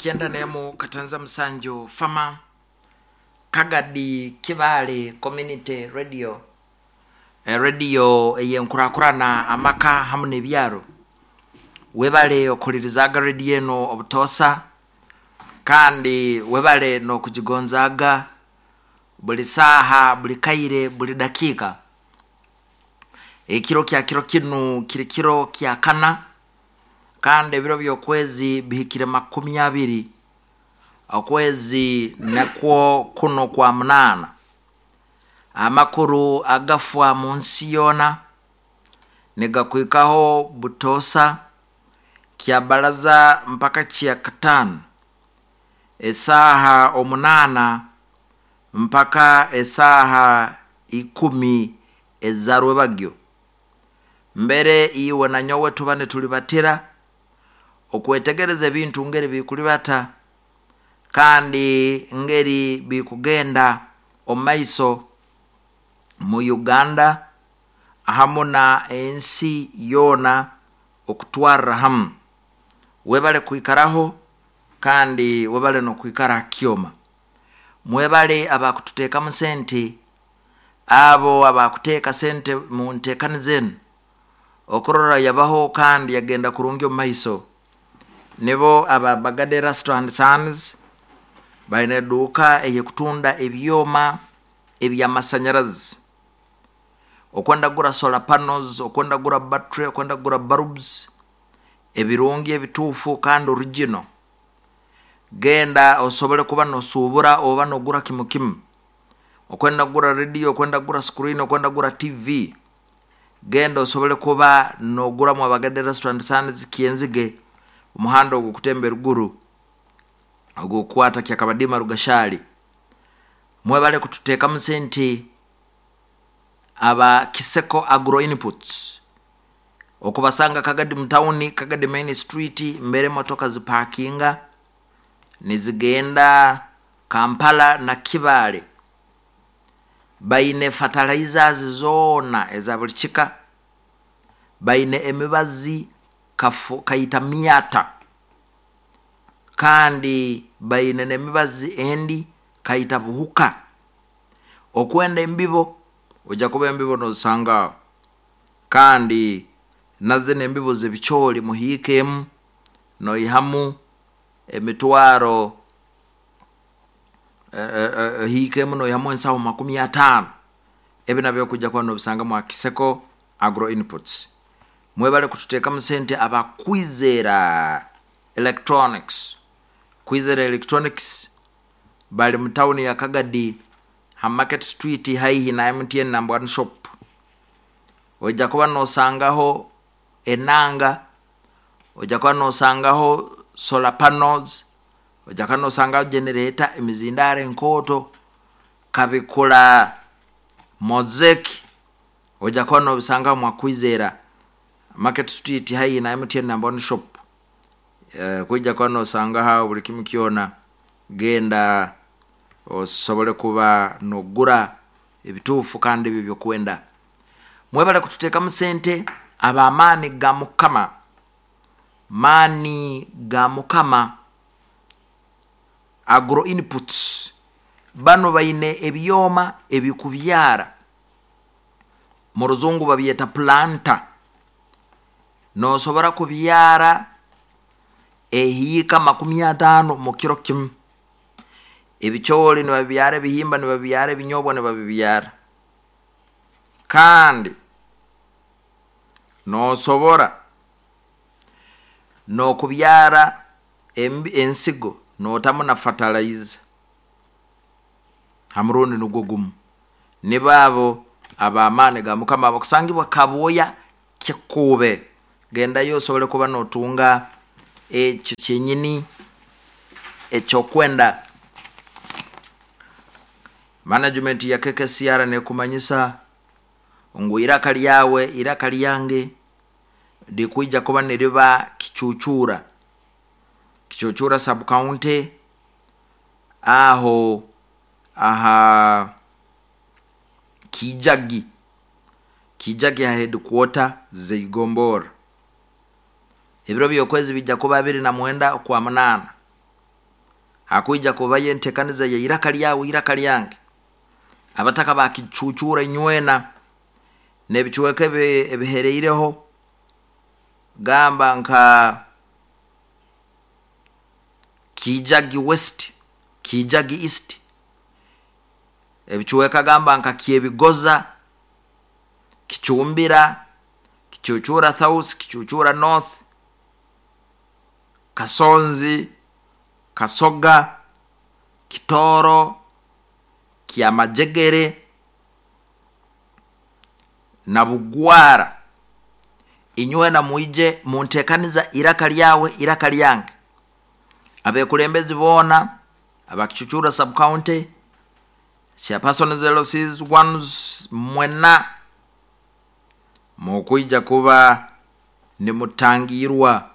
91 katanza musanju fama Kagadi Kibale Community Radio, radio eyenkurakurana amaka hamu n'ebyaro. Webale okuhulirizaga radio eno obutosa, kandi webale n'okugigonzaaga buli saaha, buli kaire, buli dakiika. Ekiro kya kiro kinu kiri kiro kya kana, kandi ebiro by'okwezi bihikire 20, okwezi nakwo kuno kwa munaana. Amakuru agafa mu nsi yoona nigakwikaho butosa kya baraza mpaka kya kataano, esaaha 8 mpaka esaaha 10 eza rwebagyo. Mbere iwe na nyowe tuba nitulibatira okwetegereza ebintu ngeri bikulibata kandi ngeri bikugenda omu maiso mu Uganda hamu na ensi yoona okutwarra hamu. Webale kwikaraho kandi webale n'okwikara ha kyoma. Mwebale abakututeekamu sente, abo abakuteeka sente mu nteekaniza enu okurora yabaho kandi yagenda kurungi omu maiso. Nibo aba Bagade Rastro and Sons, baine eduuka ey'ekutunda ebyoma eby'amasanyarazi. Okwenda kugura solar panels, okwenda kugura battery, okwenda kugura bulbs, ebirungi ebituufu kandi original. Genda osobole kuba nosuubura oba nogura kimu kimu. Okwenda kugura radio, okwenda kugura screen, okwenda kugura TV, genda osobole kuba noguramu Abagade Rastro and Sons Kyenzige, omuhanda ogukutemba eruguru ogukukwata Kyakabadima Rugashali. Mwebale kututeekamu sente aba Kiseko Agro Inputs, okubasanga Kagadi mu tawuni, Kagadi Main Street, mbere emotoka zipakinga nizigenda Kampala na Kibaale. Baine fertilizers zoona eza buli kika, baine emibazi kaita myata, kandi baine n'emibazi endi kaita buhuka. Okwenda embibo, ojja kuba embibo nozisanga aho, kandi nazo n'embibo z'ebicooli muhiika emu noihamu emitwaro hiika emu noihamu ensaho 50. Ebi nabyo okujja kuba nobisangamu ha Kiseko Agro Inputs. Mwebale kututeekamu sente aba Kwizera Electronics. Kwizera Electronics bali mu tawuni ya Kagadi ha Market Street haihi na MTN number 1 shop. Ojja kuba nosangaho enanga, ojja kuba nosangaho solar panels, ojja kuba nosangaho generator, emizindaaro enkooto, kabikula mosaic, ojja kuba nobisangaho mwa Kwizera Market Street haihi na MTN number 1 shop. Kwijja kuba nosangaho buli kimu kyona, genda osobole kuba nogura ebituufu kandi ebyo ebyokwenda. Mwebale kututeekamu sente ab'amaani ga Mukama, maani ga Mukama Agro Inputs. Banu baine ebyoma ebikubyara, mu ruzungu babyeta planter. Nosobora kubyara ehiika 50 mu kiro kimu. Ebicooli nibabibyara, ebihimba nibabibyara, ebinyobwa nibabibyara. Kandi nosobora n'okubyara ensigo notamu na fertilizer ha murundi nugwo gumu. Nibo abo ab'amaani ga Mukama abakusangibwa Kabwoya Kikuube. Gendayo osobole kuba notunga ekyo kyenyini ekyokwenda. Management ya KKCR nekumanyisa ngu iraka lyawe, iraka lyange likwija kuba niriba Kicucura. Kicucura sub county aho aha Kijagi. Kijagi ha headquarter z'Igombora. Ebiro by'okwezi bijja kuba 29 okwa munaana. Hakwija kubayo entekaniza ya iraka lyawe iraka lyange. Abataka bakicucura inywena n'ebicweka ebihereireho, gamba nka Kijagi West, Kijagi East, ebicweka gamba nka Kyebigoza, Kicumbira, Kicucura South, Kicucura North, Kasonzi, Kasoga, Kitoro, Kyamajegere na Bugwara. Inywena mwije muntekaniza iraka lyawe iraka lyange. Abekulembezi boona abakicucura sub county, chairperson LCs ones, mwena mukwija kuba nimutangirwa,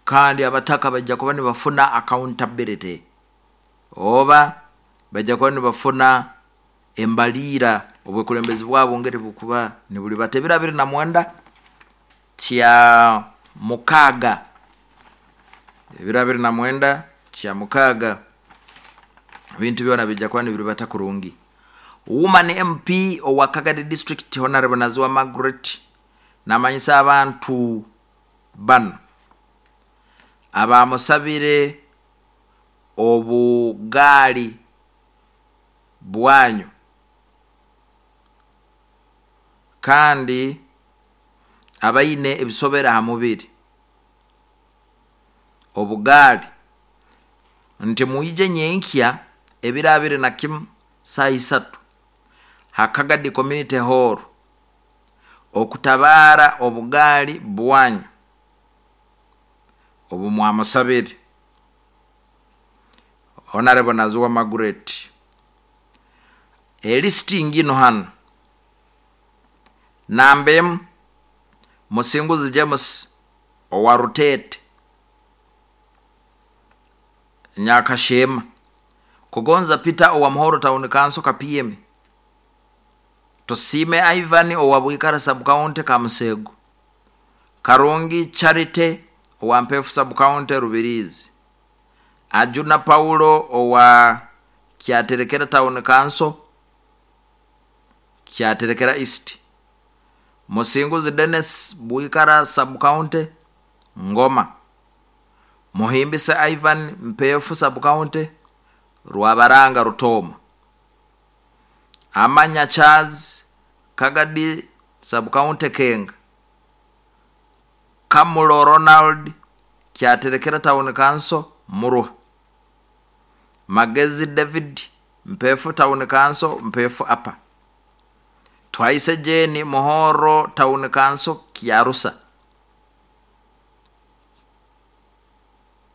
kandi abataka bajja kuba nibafuna accountability oba bajja kuba nibafuna embalira obwekulembezi bwabo ngeri bukuba nibuli bata. Ebiro 29 kya mukaaga, ebiro 29 kya mukaaga, ebintu byona bijja kuba nibiri bata kurungi. Woman MP owa Kagadi District Honorable Naziwa Margaret namanyisa abantu bano abamusabire obugaali bwanyu kandi abaine ebisobera ha mubiri obugaali nti mwije nyenkya ebiro 21 saa 3 ha Kagadi Community Hall okutabara obugaali bwanyu obu mwamusabire. Honorable Naziwa Margaret, elisiti ngino hano: namba emu Musinguzi James owa Rutete Nyakashema, Kugonza Peter owa Muhoro Town Council Kapiem, Tusime Ivan owa Bwikara Sub County Kamusego, Karungi Charity owa Mpefu Sub County Rubirizi, Ajuna Paulo owa Kyaterekera Town Council Kyaterekera East, Musinguzi Dennis Bwikara Sub County Ngoma, Muhimbise Ivan Mpefu Sub County Rwabaranga Rutoma, Amanya Charles Kagadi Sub County Kenga, Kamulo Ronald Kyaterekera Town Council Muruha, Magezi David Mpefu Town Council Mpefu Upper, Twaise Jane Muhoro Town Council Kyarusa,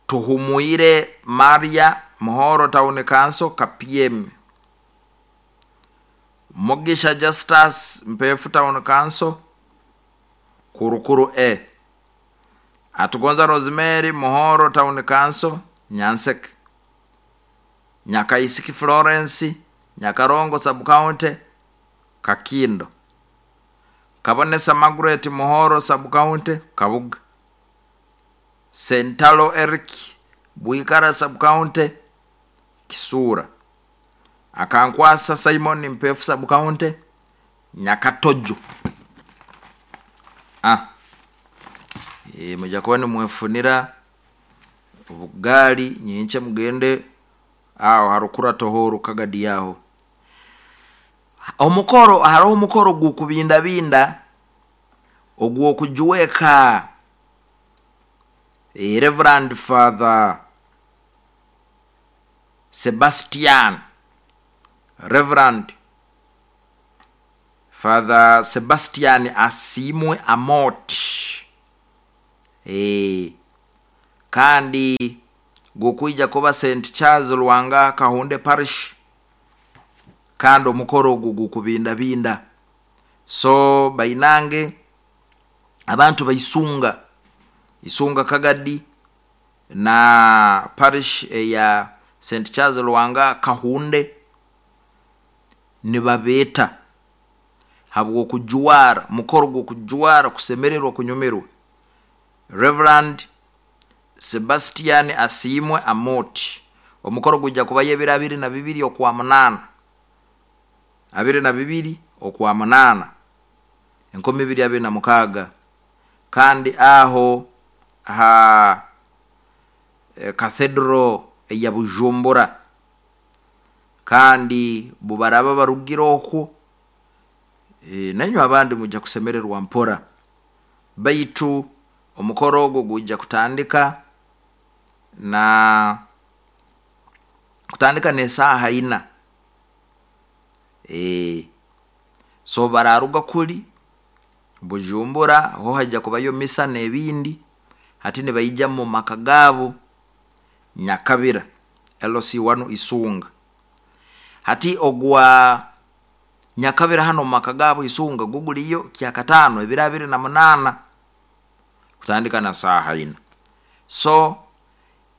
Tuhumuire Maria Muhoro Town Council Kapiem, Mugisha Justus Mpefu Town Council Kurukuru A, Atugonza Rosemary Muhoro Town Council Nyanseke, Nyakaisiki Florence Nyakarongo Sub County Kakindo, Kabonesa Margaret Muhoro Sub County Kabuga, Sentalo Eric Bwikara Sub County Kisura, Akankwasa Simon Mpefu Sub County Nyakatojo. Mujja kuba nimwefunira obugaali nyinkye mugende aho harukura tohoro Kagadi yaho. Omukoro hariho omukoro gukubindabinda ogw'okujuweka Reverend Father Sebastian, Reverend Father Sebastian Asimwe Amoti, kandi gukwija kuba St Charles Lwanga Kahunde Parish, kandi omukoro ogu gukubindabinda. So bainange abantu baisunga isunga Kagadi na parish ya St Charles Lwanga Kahunde nibabeeta habw'okujwara mukoro gw'okujwara kusemererwa kunyumirwa. Reverend Sebastian Asimwe Amoti Omukoro gujja kubayo ebiro 22 okwa 8, 22 okwa 8 2026, kandi aho ha Cathedral eya Bujumbura. Kandi bubaraba barugire okwo, nainywe abandi mujja kusemererwa mpora. Baitu omukoro ogwo gujja kutandika na kutandika n'esaaha 4. So bararuga kuli Bujumbura, ho hajja kubayo misa n'ebindi. Hati nibaija mu maka gaabo Nyakabira LC1 Isunga. Hati ogwa Nyakabira hano mu maka gaabo Isunga guguliyo kyakataano ebiro 28 kutandika na saaha 4. So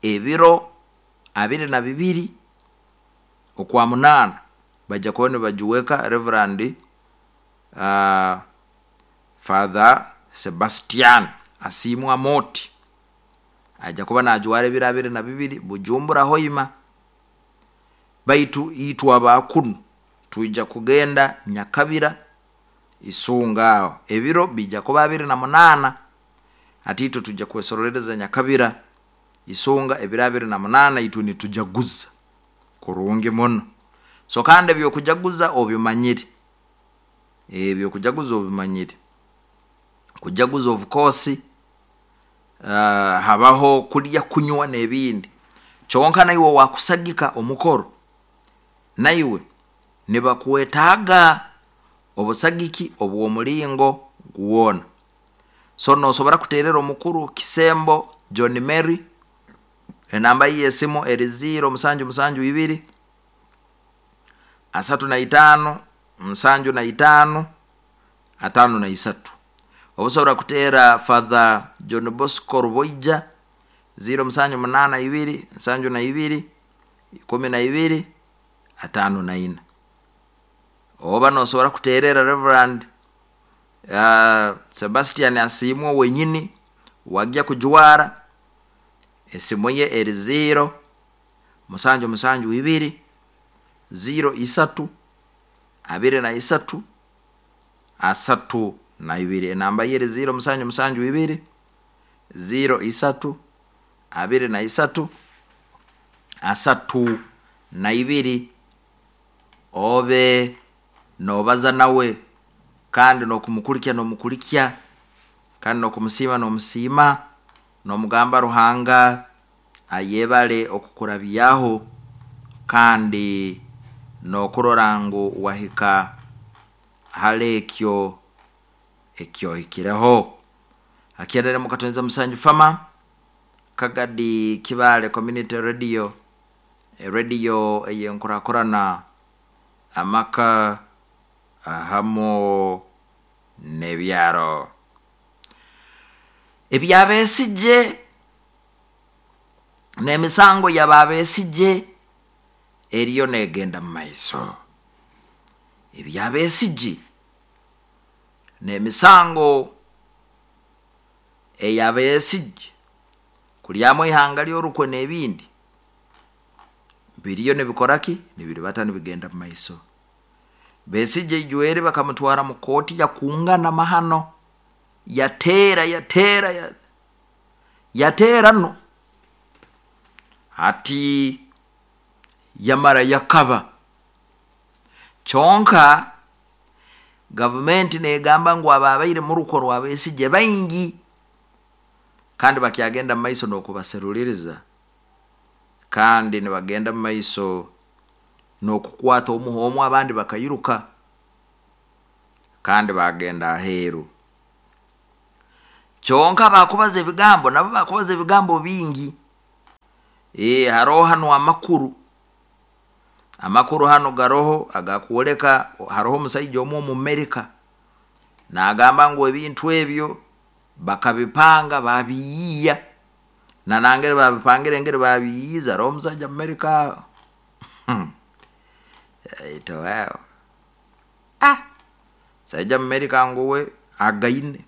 ebiro 22 okwa 8 bajja kuba nibajuweka Reverend Father Sebastian Asiimwe Amooti ajja kuba najwara ebiro 22 Bujumbura Hoima. Baitu itwe abakunu twija kugenda Nyakabira Isunga aho ebiro bijja kuba 28. Hati itwe tujja kwesorolereza Nyakabira Isunga ebiro 28, itwe nitujaguza kurungi muno. So kandi ebyokujaguza obimanyire, ebyokujaguza obimanyire, kujaguza of course habaho kulya, kunywa n'ebindi. Kyonka naiwe wakusagika omukoro, naiwe nibakwetaaga obusagiki obw'omulingo gwona. So nosobora kuterera omukuru Kisembo John Mary, enamba ye y'esimu eri 0772 35 75 53. Obusobora kuteera Father John Bosco Ruboija 0782 72 12 54. Oba nosobora kuterera Reverend Sebastian Asiimwe wenyini wajja kujwara, esimu ye eri 0 772 03 23 32. Enamba ye eri 0 772 03 23 32. Obe nobaza nawe kandi nokumukulikya nomukulikya, kandi nokumusiima nomusiima, nomugamba Ruhanga ayebale okukurabyaho, kandi nokurora ngu wahika hali ekyo ekyohikireho. Akyerere mukatonza Musanju Fama Kagadi Kibale Community Radio, radio eyenkurakurana amaka ahamu n'ebyaro. Ebyabesije n'emisango y'ababesije eriyo negenda mu maiso. Ebyabesije n'emisango eyabesije kulyamu ihanga ly'orukwe n'ebindi biriyo nibikoraki, nibiribata nibigenda mu maiso. Besije ijweri bakamutwara mu kooti yakungana mahano, yateera yateera yateera no hati yamara yakaba. Kyonka gavumenti negamba ngu ababaire muruko rwa Besije baingi, kandi bakyagenda mu maiso n'okubaseruliriza, kandi nibagenda mu maiso n'okukwata omuhoomu, abandi bakairuka kandi bagenda aheeru. Kyonka bakubaza ebigambo, nabo bakubaza ebigambo bingi. Haroho hano amakuru, amakuru hano garoho agakwoleka haroho omusaija omu Omumerika nagamba ngu ebintu ebyo bakabipanga babiyiiya, na nangeri babipangire engeri babiyiiza. Haroho omusaija Amerika musaija Amerika nguwe againe,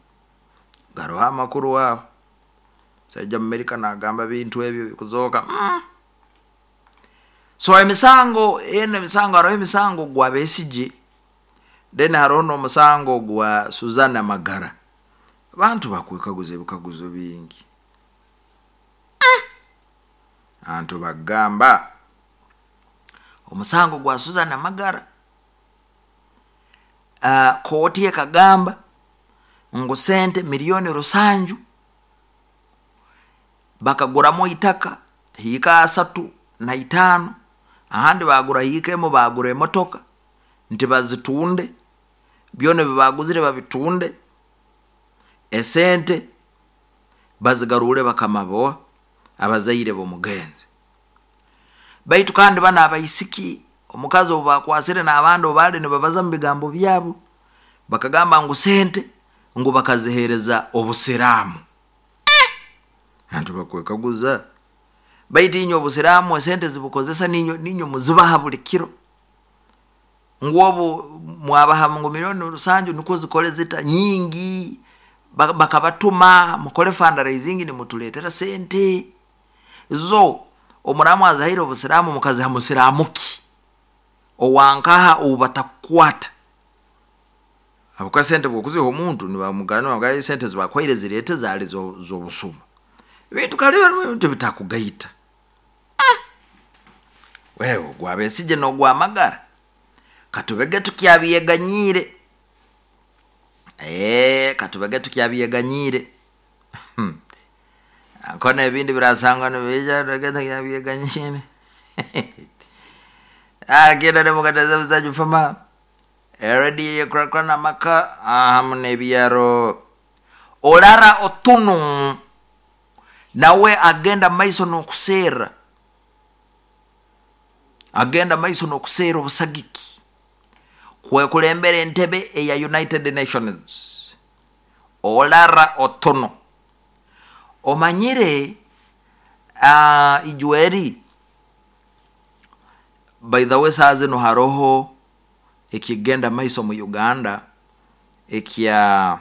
garoho amakuru aho. Musaija Amerika nagamba ebintu ebyo bikuzooka. So emisango eno, emisango, haroho emisango gwa Besigye, then haroho n'omusango gwa Suzana Magara. Abantu bakwekaguza ebikaguzo bingi. Abantu bagamba omusango gwa Suzana Magara, kooti ekagamba ngu sente 700,000,000 bakaguramu itaka hiika 35, ahandi bagura hiika emu, bagura emotoka, nti bazitunde, byona ebibaguzire babitunde, esente bazigarure bakama bo abazaire b'omugenzi. Baitu kandi bano abaisiki, omukazi obu bakwasire n'abandi obu baali nibabaza mu bigambo byabo, bakagamba ngu sente ngu bakaziheereza obusiraamu. Abantu bakwekaguza, baitu inywe obusiraamu esente zibukozesa ninywe muzibaha buli kiro, ngu obu mwabaha ngu 700,000,000 nukwo zikole zita nyingi, bakabatuma mukole fundraising nimutuleetera sente zo. Omuramu azihaire obusiraamu, mukaziha musiraamu ki owankaha ou batakukwata? Habwokuba sente bwokuziha omuntu nibamugamba esente zibakuhaire zireete zaali z'obusuma. Ebintu kale ebintu bitakugaita. Wewe ogwa Besigye n'ogwa Magara katubege tukyabyeganyiire, katubege tukyabyeganyiire. Nkona ebindi birasangwa nibiija, tubege tukyabyeganyiire. Agenda nemukateza busaju fama erediyo eyekurakurana amaka hamu n'ebyaro. Olara Otunu nawe agenda maiso n'okuserra, agenda maiso n'okuserra obusagiki kwekulembera entebe eya United Nations. Olara Otunu, omanyire ijweri, by the way, saaha zinu haroho ekigenda maiso mu Uganda ekya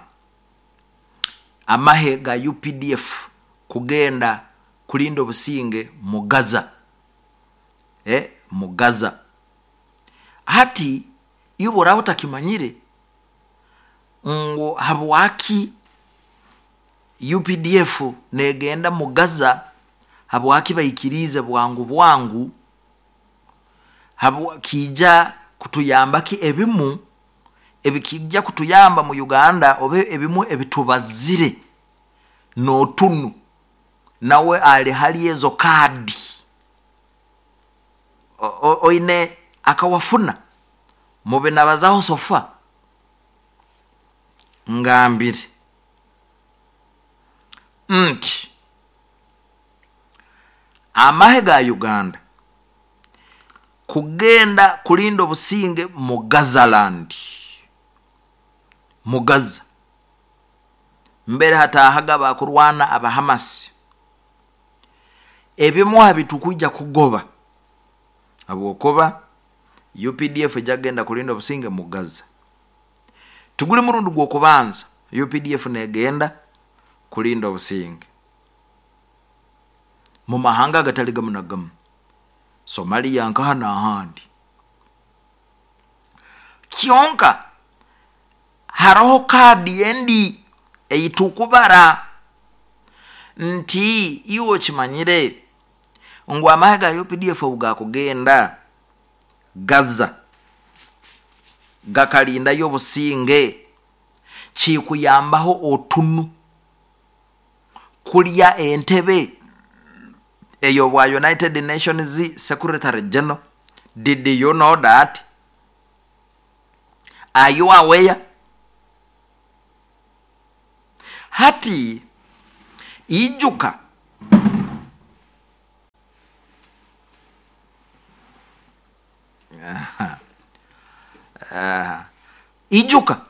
amahe ga UPDF kugenda kulinda obusinge mu Gaza, mu Gaza. Hati iwe oraaba otakimanyire ngu habwaki UPDF negenda mu Gaza, habwaki baikiriize bwangu bwangu, kiija kutuyamba ki, ebimu ebikijja kutuyamba mu Uganda oba ebimu ebitubazire n'Otunu nawe ali hali ezo kaadi. Oine akawafuna mubinabazaho sofa ngambire nti amahe ga Uganda kugenda kulinda obusinge mu Gazaland, mu Gaza mbere hatahaga bakurwana abahamasi, ebimu habitukwija kugoba habwokuba UPDF ejagenda kulinda obusinge mu Gaza. Tuguli murundi gw'okubanza UPDF negenda kulinda obusinge mu mahanga agatali gamu na gamu, Somalia nkaha n'ahandi. Kyonka haroho kaadi endi eitukubara nti iwe okimanyire ngu amahe ga UPDF obu gakugenda Gaza gakalindayo obusinge, kikuyambaho Otunu kulya entebe ey'obwa United Nations Secretary General. Did you know that? Are you aware? Hati ijuka ijuka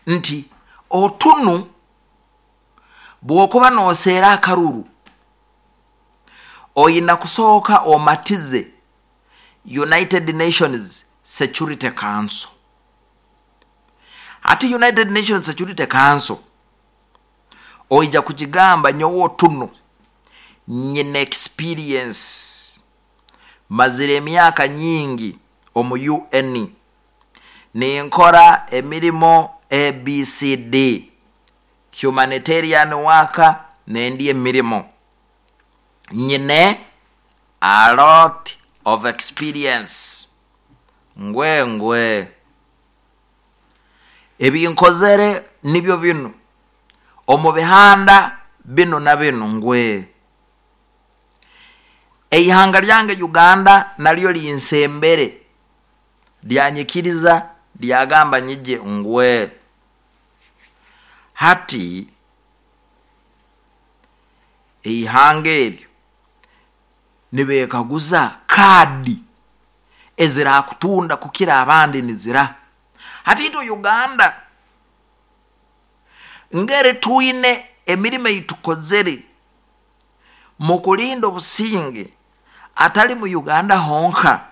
nti Otunu bwokuba noseera akaruru oyina kusooka omatize United Nations Security Council. Hati United Nations Security Council oija kugigamba nyowe Otunu nyina experience. Mazire emyaka nyingi omu UN ninkora emirimo ABCD, humanitarian worker, nendi emirimo nyine a lot of experience. Ngwe ngwe ebinkozere nibyo binu omu bihanda binu na binu. Ngwe eihanga lyange Uganda nalyo linsembere, lyanyikiriza, lyagamba nyije. Ngwe hati eihanga eryo nibekaguza kaadi ezirakutunda kukira abandi nizira. Hati itwe Uganda ngeri twine emirimo eitukozere mu kulinda obusinge, atali mu Uganda honka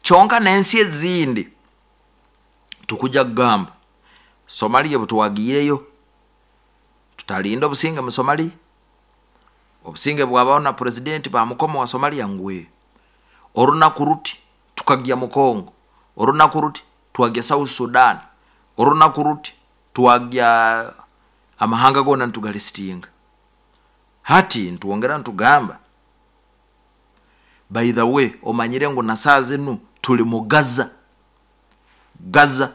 kyonka n'ensi ezindi. Tukuja kugamba Somalia, butwagiireyo tutalinda obusinge mu Somalia, obusinge bwabaho na purezidenti bamukoma wa Somalia. Ngwe orunaku ruti tukagya mu Congo, orunaku ruti twagya South Sudan, orunaku ruti twagya amahanga gona nitugalisitinga. Hati ntwongera ntugamba, by the way, omanyire ngu na saa zinu tuli mu Gaza. Gaza,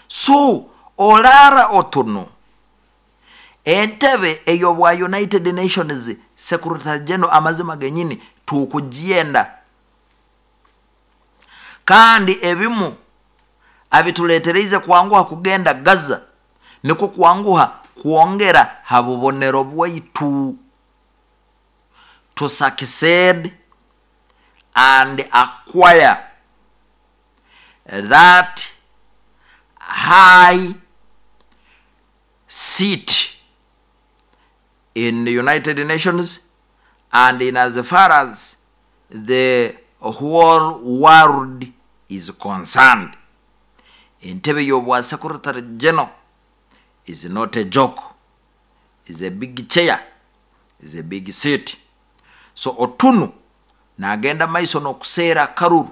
so olara otuno entebe ey'obwa United Nations Secretary General, amazima genyini tukugyenda. Kandi ebimu abituletereize kwanguha kugenda Gaza nikwo kwanguha kwongera ha bubonero bwaitu to succeed and acquire that high seat in the United Nations and in as far as the whole world is concerned. Entebe y'obwa Secretary General is not a joke, is a big chair, is a big seat. So Otunu nagenda maiso n'okuseera akaruru,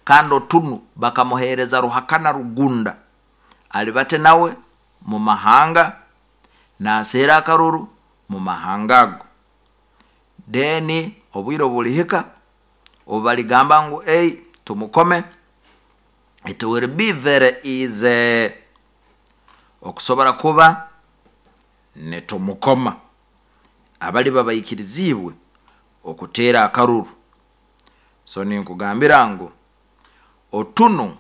kandi Otunu bakamuheereza Ruhakana Rugunda alibate nawe mu mahanga naseera akaruru mu mahanga ago. Then obwire obulihika obu baligamba ngu ei tumukome, it will be very easy okusobora kuba nitumukoma abaliba baikiriziibwe okuteera akaruru. So ninkugambira ngu Otunu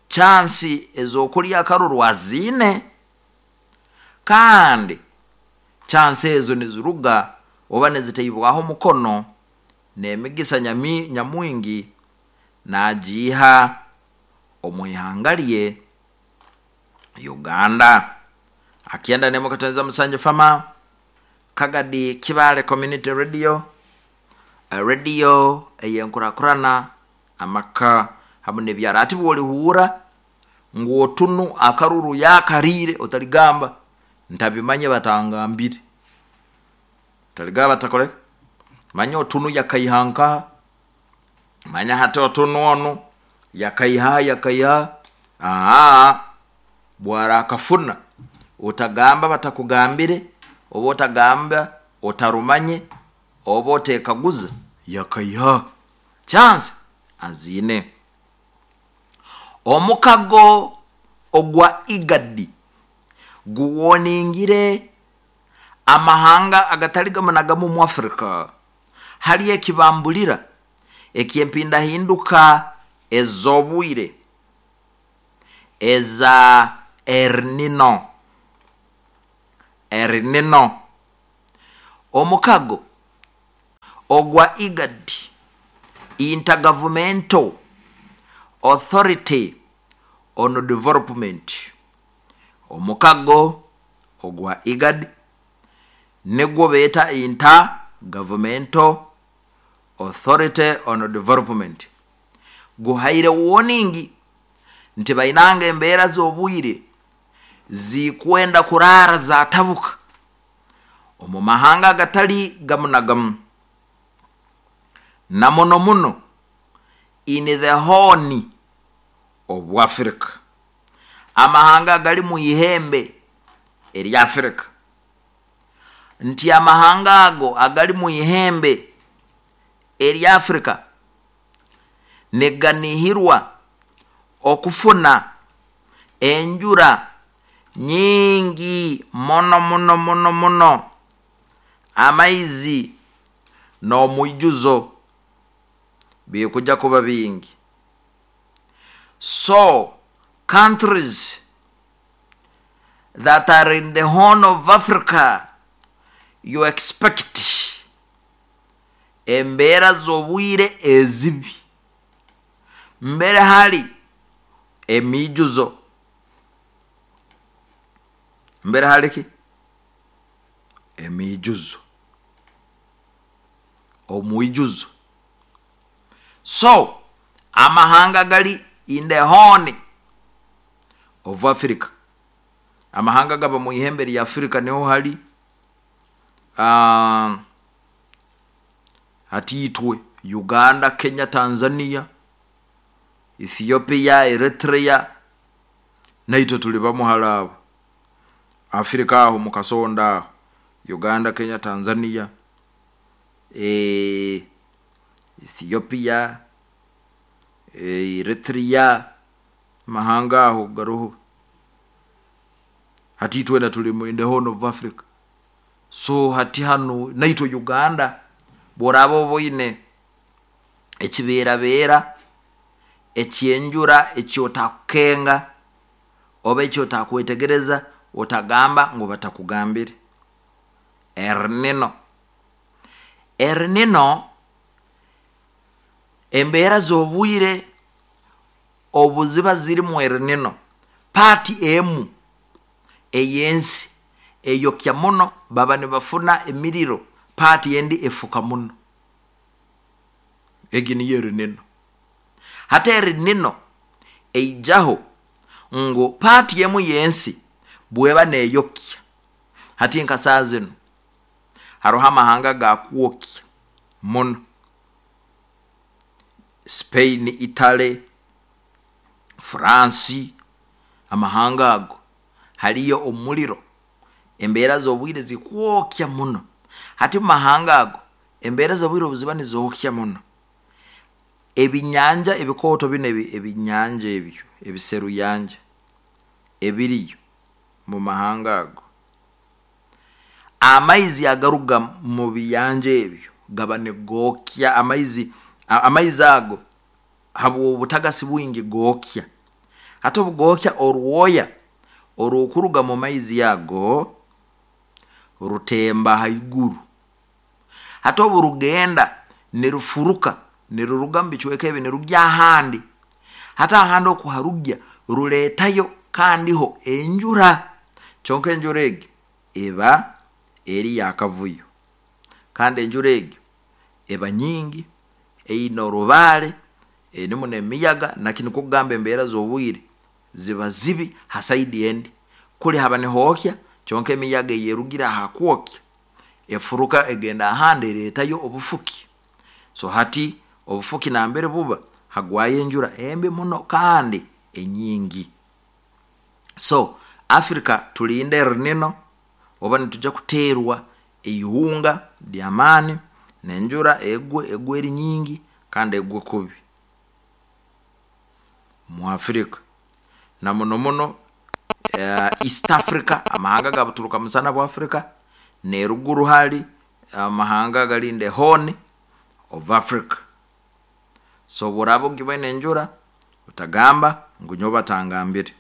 chansi ez'okulya akaruru aziine, kandi chansi ezo niziruga oba nizitaibwaho omukono n'emigisa nyamwingi nagiiha omu ihanga lye Uganda. Akyenda nemu 7 fama Kagadi Kibale Community Radio, radio ey'enkurakurana amaka hamu n'ebyaro. Ati bwolihuura ngu Otunu akaruru yakariire, otaligamba ntabimanye batangambire, otaligamba batakole manya Otunu yakaiha nkaha. Manya hati Otunu onu yakaiha yakaiha aa bwarakafuna, otagamba batakugambire, oba otagamba otarumanye, oba otekaguza yakaiha. Chance aziine. Omukago ogwa IGAD guwoningire amahanga agatali gamu na gamu mu Afrika hali ekibambulira eky'empindahinduka ez'obwire eza El Nino. El Nino, omukago ogwa IGAD, Intergovernmental Authority on Development, omukago ogwa IGAD nigwo beeta Intergovernmental Authority on Development, guhaire warning nti bainanga embeera z'obwire zikwenda kuraara zatabuka omu mahanga agatali gamu na gamu. Na muno muno in the Horn of Africa, amahanga agali mu ihembe erya Africa, nti amahanga ago agali mu ihembe erya Africa niganihirwa okufuna enjura nyingi muno muno muno muno, amaizi n'omwijuzo bikuja kuba bingi. So countries that are in the Horn of Africa, you expect embeera z'obwire ezibi, mbere hali emijuzo, mbere hali ki emijuzo, omwijuzo. So amahanga gali in the Horn of Africa, amahanga gaba mu ihembe lya Africa, niho hali hatiitwe Uganda, Kenya, Tanzania, Ethiopia, Eritrea, naitwe tuli bamu hali abo. Africa aho mukasonda aho Uganda, Kenya, Tanzania, Ethiopia, Eritrea, mahanga aho garoho hati twena tuli mu in the Horn of Africa. So hati hanu naitwe Uganda bworaba oboine ekibeerabeera ekyenjura ekyotakukenga oba ekyotakwetegereza, otagamba ngu batakugambire. El Nino, El Nino embeera z'obwire obu ziba zirimu El Nino, paati emu ey'ensi eyokya muno, baba nibafuna emiriro, paati endi efuka muno. Egi niyo El Nino. Hati El Nino eijaho ngu paati emu y'ensi bweba neeyokya, hati nka saaha zinu haroho amahanga gakwokya muno, Spain, Italy, France, amahanga ago haliyo omuliro, embeera z'obwire zikwokya muno. Hati mu mahanga ago embeera z'obwire obu ziba nizookya muno, ebinyanja ebikooto binu, ebinyanja ebyo ebiseruyanja ebiriyo mu mahanga ago, amaizi agaruga mu biyanja ebyo gaba nigookya amaizi, amaizi ago habw'obutagasi bwingi gookya. Hati obugookya, orwoya orukuruga mu maizi ago rutemba haiguru. Hati obu rugenda nirufuruka, niruruga mu bicweka ebi nirugya ahandi, hati ahandi oku harugya ruleetayo kandiho enjura, kyonka enjura egi eba eri y'akavuyo, kandi enjura egi eba nyingi, eine orubaale, erimu n'emiyaga, naki nikwo kugamba embeera z'obwire ziba zibi ha saidi endi. Kuli haba nihookya, kyonka emiyaga eyerugire aha kwokya efuruka egenda ahandi ereetayo obufuki. So hati obufuki nambere buba hagwayo enjura embi muno kandi enyingi. So Africa tulinde El Nino, oba nitujya kuteerwa eihunga ly'amaani n'enjura egwe, egwe eri nyingi kandi egwe kubi mu Africa, na muno muno East Africa, amahanga ga buturuka musana bwa Africa, n'eruguru hali amahanga agali in the Horn of Africa. So obu oraaba ogiboine enjura, otagamba ngu nyowe batangambire.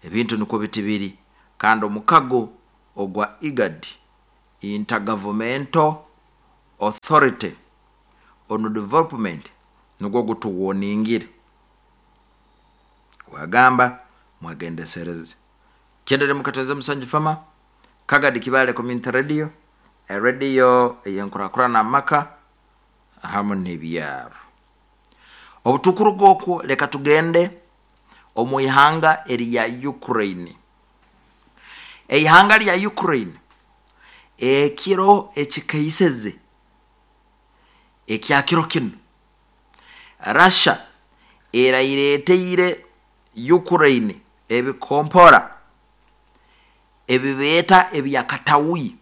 Ebintu nikwo biti biri, kandi omukago ogwa IGAD, Intergovernmental Authority on Development, nugwo gutuwoningire gwagamba mwegendesereze. Kendere mukatonze Musanju Fama, Kagadi Kibale Community Radio, radio ey'enkurakurana amaka hamu n'ebyaro. Obutukuruga okwo, leka tugende omu ihanga erya Ukraine. Eihanga lya Ukraine ekiro ekikaiseze Ekyakiro kinu Russia eraireeteire Ukraine ebikompora ebibeeta ebyakatawi,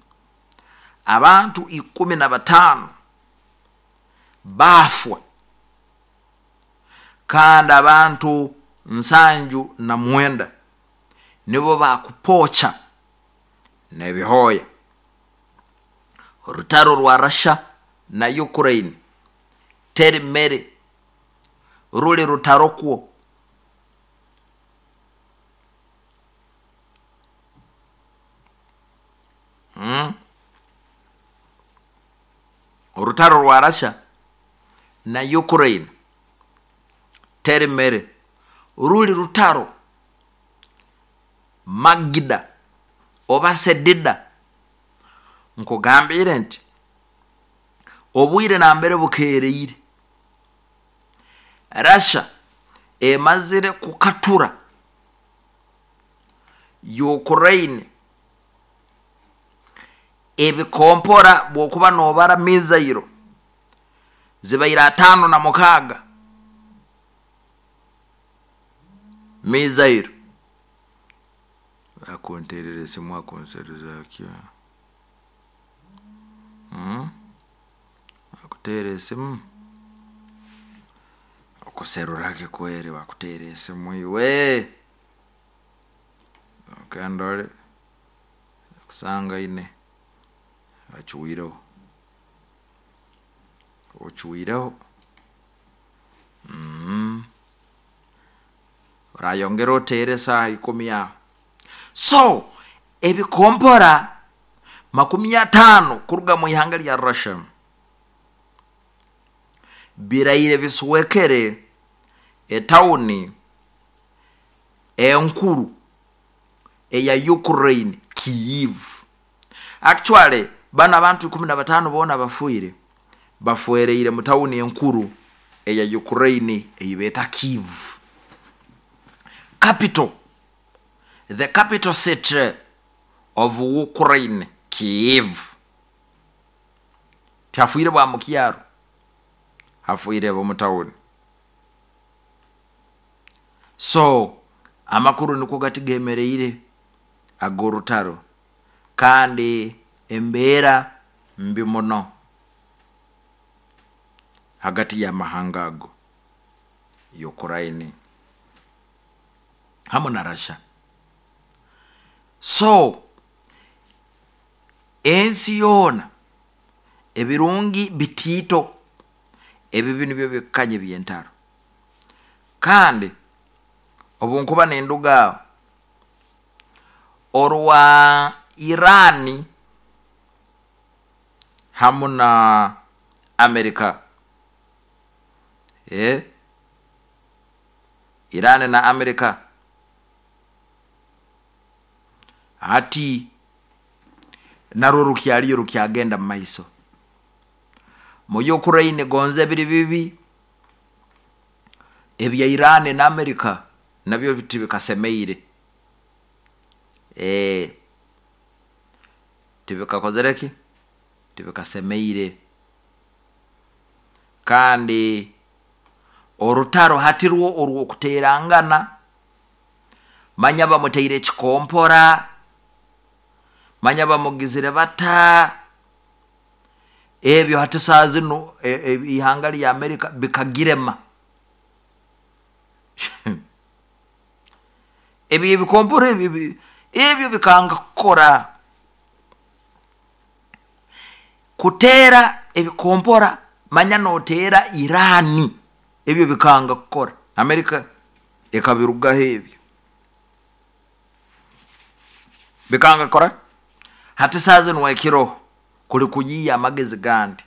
abantu 15 baafwa kandi abantu 79 nibo bakupokya n'ebihooya. Orutaro rwa Russia na Ukraine teri mere, ruli rutaro kwo. Orutaro rwa Russia na Ukraine teri mere, ruli rutaro. Magida oba Sedida, nkugambire nti obwire nambere bukeereire, Russia emazire kukatura Ukraine ebikompora bw'okuba noobara mizairo zibaire 56 mizairo. Akunterera esimu akunseruza ki? Akuteera esimu okuserura ki kweri bakuteera esimu iwe? Okendole akusangaine acuireho, ocwireho. Orayongera oteere esaaha 10 aho. So ebikompora 50 kuruga mu ihanga lya Russia biraire biswekere etawuni enkuru eya Ukraine, Kyiv. Actually bano abantu 15 boona bafiire, bafwereire mu tawuni enkuru eya Ukraine ei beeta Kyiv. Capital, the capital city of Ukraine, Kyiv. Tihafiire bwa mu kyaro, hafiire b'omu tawuni. So amakuru nikwo gati gemereire ag'orutaro, kandi embeera mbi muno hagati y'amahanga ago, Ukraine hamu na Russia. So ensi yoona ebirungi bitiito, ebibi nibyo bikukanya eby'entaro. Kandi obu nkuba ninduga aho, orwa Iran hamu na Amerika, Iran na Amerika hati narwo rukyaliyo rukyagenda mu maiso. Mu Ukraine gonza biri bibi, ebya Iran na Amerika nabyo tibikasemeire. Tibikakozere ki? Tibikasemeire. Kandi orutaro hati rwo orw'okuteerangana, manya bamuteire ekikompora, manya bamugizire bata, ebyo hati saaha zinu ihanga lya Amerika bikagirema. Ebyo ebikompora ebyo bikanga kukora. Kuteera ebikompora manya nooteera Iran, ebyo bikanga kukora. Amerika ekabirugaho ebyo. Bikanga kukora. Hati saaha zinu ekiroho kuli kuyiiya amagezi gandi.